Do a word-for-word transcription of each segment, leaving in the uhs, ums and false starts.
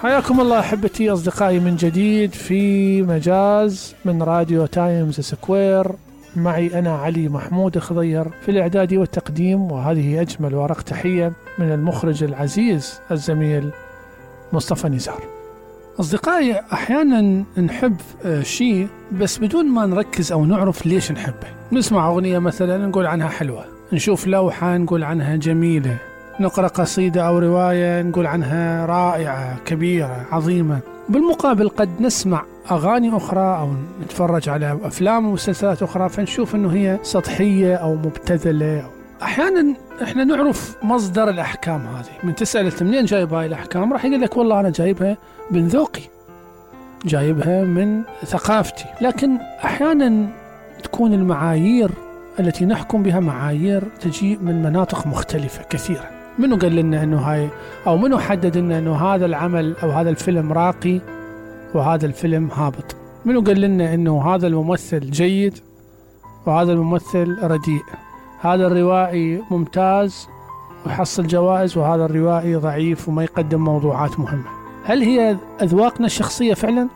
حياكم الله أحبتي أصدقائي من جديد في مجاز من راديو تايمز سكوير. معي أنا علي محمود خضير في الإعداد والتقديم، وهذه أجمل ورق تحية من المخرج العزيز الزميل مصطفى نزار. أصدقائي، أحيانا نحب شيء بس بدون ما نركز أو نعرف ليش نحبه. نسمع أغنية مثلا نقول عنها حلوة، نشوف لوحة نقول عنها جميلة، نقرأ قصيدة أو رواية نقول عنها رائعة كبيرة عظيمة. بالمقابل قد نسمع أغاني أخرى أو نتفرج على أفلام ومسلسلات أخرى فنشوف أنه هي سطحية أو مبتذلة. أحيانا إحنا نعرف مصدر الأحكام هذه، من تسأل منين جايب هاي الأحكام راح يقول لك والله أنا جايبها من ذوقي، جايبها من ثقافتي. لكن أحيانا تكون المعايير التي نحكم بها معايير تجي من مناطق مختلفة كثيرة. منو قال لنا أنه هاي أو منو حدد لنا أنه هذا العمل أو هذا الفيلم راقي وهذا الفيلم هابط؟ منو قال لنا أنه هذا الممثل جيد وهذا الممثل رديء؟ هذا الروائي ممتاز ويحصل جوائز وهذا الروائي ضعيف وما يقدم موضوعات مهمة. هل هي أذواقنا الشخصية فعلا؟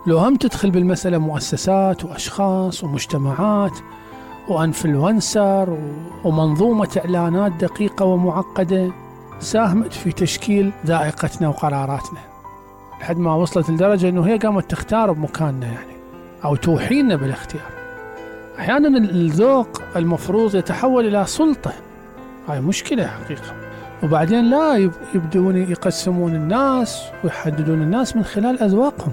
لو هم تدخل بالمسألة مؤسسات وأشخاص ومجتمعات وأنفلونسر ومنظومة إعلانات دقيقة ومعقدة ساهمت في تشكيل ذائقتنا وقراراتنا لحد ما وصلت لدرجة أنه هي قامت تختار بمكاننا يعني أو توحينا بالاختيار. أحيانا الذوق المفروض يتحول إلى سلطة، هاي مشكلة حقيقة. وبعدين لا يبدون يقسمون الناس ويحددون الناس من خلال أذواقهم.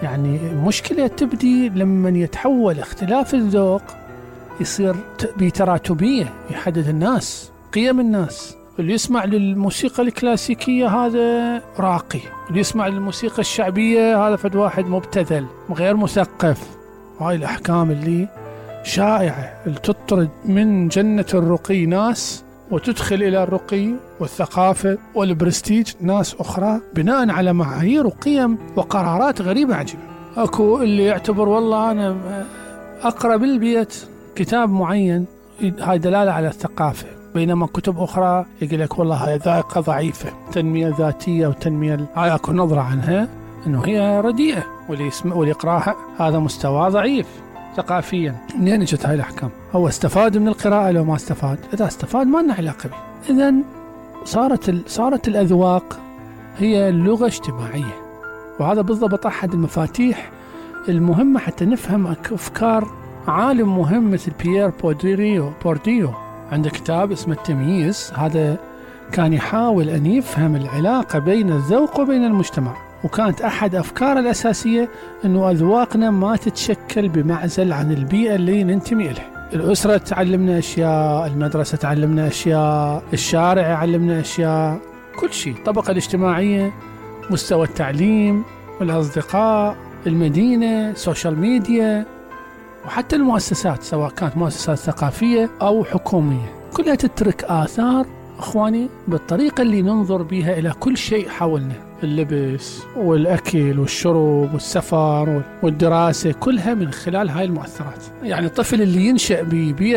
يعني مشكلة تبدي لما يتحول اختلاف الذوق يصير بتراتبية، يحدد الناس قيم الناس. اللي يسمع للموسيقى الكلاسيكية هذا راقي، اللي يسمع للموسيقى الشعبية هذا فد واحد مبتذل غير مثقف. هاي الأحكام اللي شائعة اللي تطرد من جنة الرقي ناس وتدخل إلى الرقي والثقافة والبرستيج ناس أخرى بناء على معايير وقيم وقرارات غريبة عجيبة. أكو اللي يعتبر والله أنا أقرأ بالبيت كتاب معين هاي دلالة على الثقافة، بينما كتب أخرى يقول لك والله هاي ذائقة ضعيفة، تنمية ذاتية وتنمية هاي أكو نظرة عنها أنه هي رديئة، واللي يسمع واللي يقرأها هذا مستوى ضعيف ثقافيا. منين اجت هاي الأحكام؟ هو استفاد من القراءة لو ما استفاد؟ إذا استفاد ما لنا علاقة به. إذن صارت ال... صارت الأذواق هي لغة اجتماعية، وهذا بالضبط أحد المفاتيح المهمة حتى نفهم أفكار عالم مهم مثل بيير بورديو بورديو عنده كتاب اسمه التمييز. هذا كان يحاول أن يفهم العلاقة بين الذوق وبين المجتمع، وكانت أحد أفكار الأساسية أنه أذواقنا ما تتشكل بمعزل عن البيئة اللي ننتمي إليها. الأسرة تعلمنا أشياء، المدرسة تعلمنا أشياء، الشارع يعلمنا أشياء، كل شيء. الطبقة الاجتماعية، مستوى التعليم، الأصدقاء، المدينة، السوشيال ميديا، وحتى المؤسسات سواء كانت مؤسسات ثقافية أو حكومية، كلها تترك آثار أخواني بالطريقة اللي ننظر بها إلى كل شيء حولنا. اللبس والأكل والشرب والسفر والدراسة كلها من خلال هاي المؤثرات. يعني الطفل اللي ينشأ ببيئة